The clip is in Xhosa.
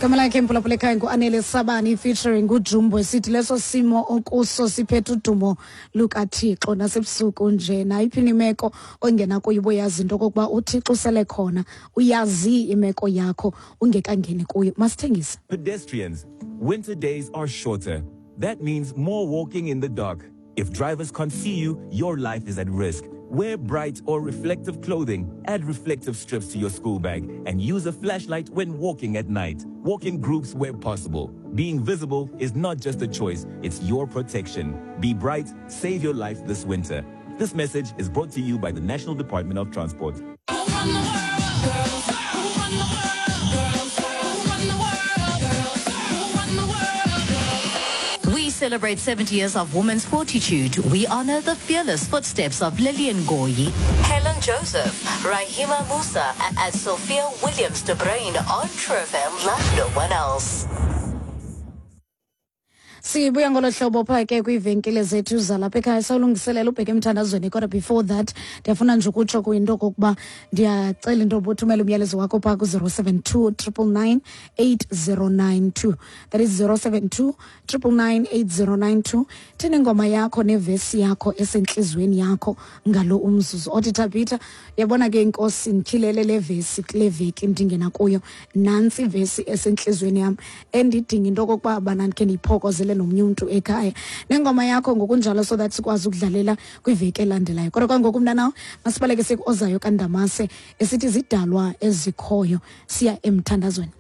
Igama lakhe mphulaphula ekhaya nguAnele Sabani featuring uJumbo, esithi leso simo okuso siphethe udumo lukaThixo. Nasebusuku nje, nayiphi imeko ongena kuyo, uboyazi into okokuba uThixo usele khona, uyazi imeko yakho ungekangeni kuyo. Masithengise. Pedestrians, winter days are shorter. That means more walking in the dark. If drivers can't see you, your life is at risk. Wear bright or reflective clothing, add reflective strips to your school bag, and use a flashlight when walking at night. Walk in groups where possible. Being visible is not just a choice, it's your protection. Be bright, save your life this winter. This message is brought to you by the National Department of Transport. We celebrate 70 years of women's fortitude. We honor the fearless footsteps of Lillian Goyi, Helen Joseph, Rahima Musa, and Sophia Williams de Bruyn on True FM like no one else. Sibuya ngolo hlobo phaa ke kwiivenkile zethu zalapha ekhaya, sawulungiselela ubheke emthandazweni, kodwa before that ndiyafuna nje ukutsho kuyinto okokuba ndiyacela into yoba uthumele umyalezo wakho phaa ku-072 999 8092, that is 072 999 8092. Thini ingoma yakho nevesi yakho esentliziyweni yakho ngalo umzuzu othi, "Thabitha, uyabona ke, inkosi ndityhilele le vesi kule veki ndingena kuyo. Nantsi ivesi esentliziyweni yam endidinga into okokuba bana ndikhe ndiyiphokozele nomnye umntu ekhaya," nengoma yakho ngokunjalo, so that sikwazi ukudlalela kwiveki elandelayo. Kodwa kwangoku, mntanawo, masibaleke sikuozayo kaNdamase esithi zidalwa ezikhoyo. Siya emthandazweni.